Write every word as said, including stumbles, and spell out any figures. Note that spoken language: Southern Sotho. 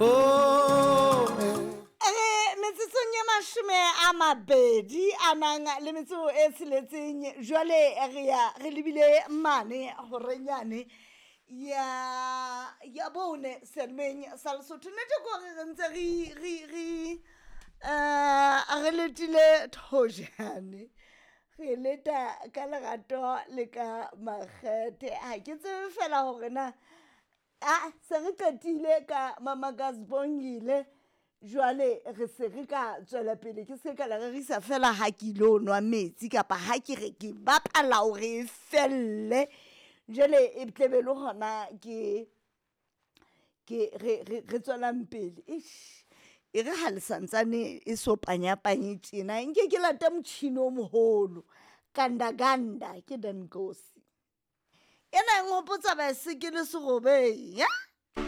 Bone. Re metsotsong e mashome a mabedi a nang le metso e tsheletseng, jwale re ya re lebile mane horenyane ya ya bone selemeng sa Lesotho. Nnete ke hore re ntse re re re um re letile thojane, re leta ka lerato le ka makgethe. Ha ke tsebe fela hore na a se re qetile ka mama ka Sibongile, jwale re se re ka tswela pele. Ke se ka le rerisa fela ha ke ilo nwa metsi kapa ha ke re ke bapala hore e felle, jwale e tlebe le hona ke ke re re re tswelang pele. Eish, e re ha le santsane e so panyapanye tjena, nke ke late motjhini o moholo. Ganda ganda ke Denkosi. Ena e nhopotsa baesekele serobeng ya.